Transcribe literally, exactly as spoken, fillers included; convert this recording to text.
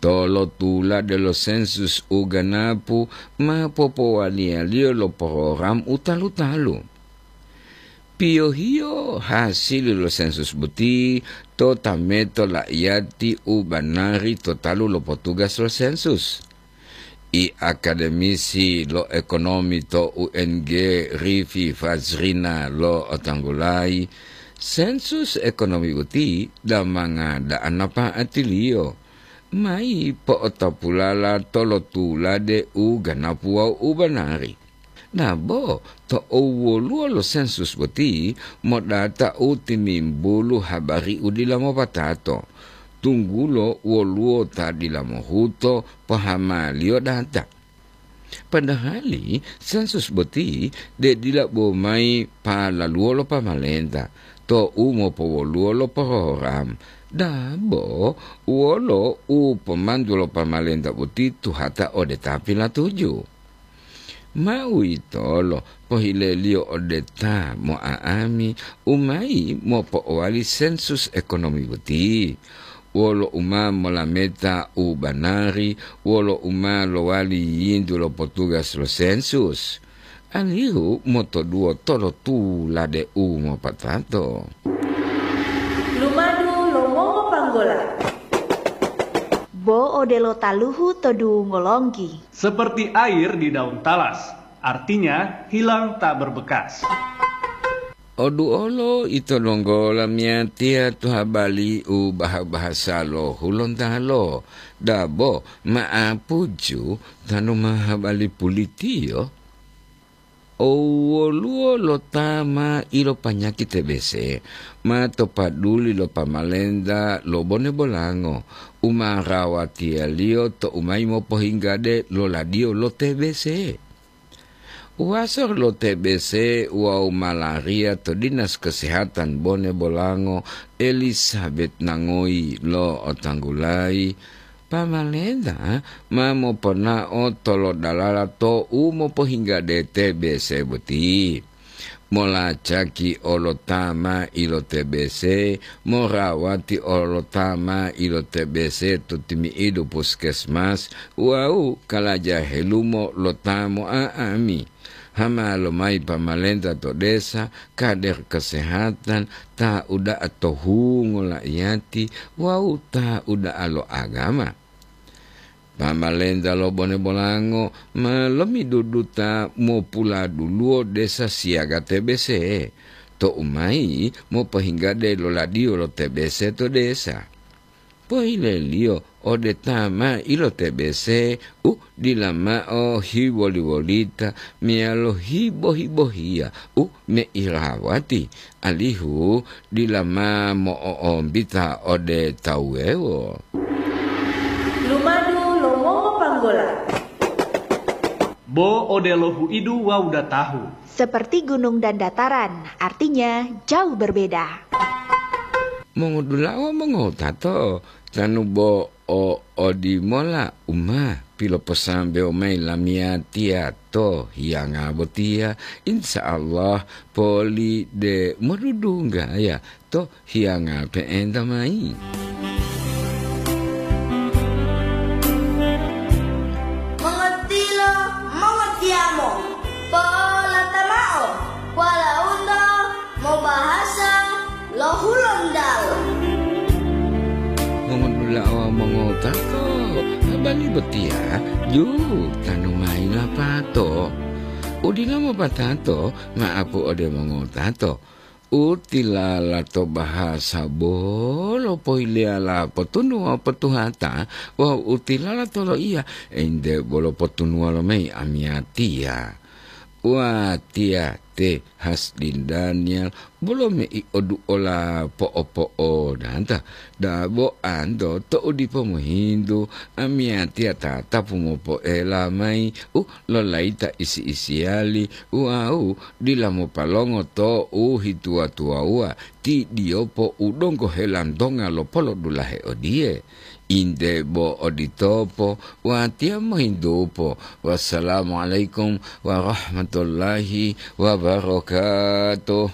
Tolotulade lo sensus u ganapu ma popowaliyaliyo lo porogram u talu-talu. Piyohiyo hasili lo sensus boti to tameto la'iyati u banari to talu lo potugas lo sensus. I akademisi lo ekonomi to U N G, Rifi Fazrina, lo'otanggulayi, sensus ekonomi boti damanga da'a napa'atiliyo mayi po'otopulala tolotulade u ganapu wawu u banari. Dabo tou woluwo lo sensus boti modata u timimbulu habari u dila mopatato, tunggulo woluwo ta dila mohuto pohamaliyo data. Padahali sensus boti de dila bo mayi palaluwo lo pamalenta tou mopowoluwo lo porogram. Dabo wolo u pomantu lo pamalenta boti tuhata ode ta pilatuju. Ma uwitolo pohileliyo ode ta mo'a'ami u mayi mopo'owali sensus ekonomi boti, wolo u ma molameta u banari, wolo u ma lowali yintu lo potugas lo sensus, alihu motoduwo tolotulade u mopatato. Lumadu lo mongopanggola. Bo odelo taluhu to dungo longgi. Seperti air di daun talas, artinya hilang tak berbekas. Oduolo ito donggo lamiyatiya to habali u baha-bahasa lo Hulontalo, dabo ma'apuju tanu ma habali pulitiyo. Owoluwo lo ta ma ilopanyaki T B C ma to paduli lo pamalenta lo Bone Bolango u ma rawatiyaliyo tou mayi mopohinggade lo ladiyo lo T B C. Uwaso lo T B C wawu malaria to Dinas Kesehatan Bone Bolango, Elizabeth Nangoyi, lo'otanggulayi, pamalenta ma moponao tolodalala tou mopohinggade T B C boti. Molacaki olo ta ma ilo T B C, morawati olo ta ma ilo T B C to timi'idu puskesmas wawu kalaja helumo lo ta mo'a'ami. Hama lomayi pamalenta to desa, kader kesehatan, ta uda'a to hungo la'iyati wawu ta uda'a lo agama. Pamalenta lo Bone Bolango ma lomiduduta mopuladuluwo desa siyaga T B C, tou mayi mopohinggade lo ladiyo lo T B C to desa. Pohileliyo ode ta ma ilo T B C u dila mao hiwoli-wolita meyalo hibo-hibohiya u meirawati, alihu dila ma mo'o'ombita ode tawu wuwewo. Lumadu lo mongopanggola. Bo odelo huidu wawu datahu. Seperti gunung dan dataran, artinya jauh berbeda. Mongodula'a wawu mongotato, tanu bo o odimola u ma piloposambewo mayi lamiyatiya to hiyanga botiya, insya Allah poli de modudunggaya to hiyanga pe'enta mayi. Mongotilo, mongotiyamo, polata mao, walaundo mobahasa lo Hulontalo. Mongodula'a wawu mongotato, habari botiya ju tanu mayi lapato. Udila mopatato, ma'apu ode mongotato. U tilala to bahasa bolo pohileyala potunuwa potuhata wawu u tilala to loiya ente bolo potunuwa lomayi amiyatiya. Watiya te Hasdin Daniel bolo mei oduola po'opo'odanta, dabo anto to'u dipo mohintu amiyatiya tatapu mopoela mayi u lolayita isi-isiyali wawu dila mopalongo to u hituwa-tuwawuwa ti diyopo u donggo helantonga lo polodulahe odiye. Inde bo oditopo, watiya mohintupo. Wassalamualaikum warahmatullahi wabarakatuh.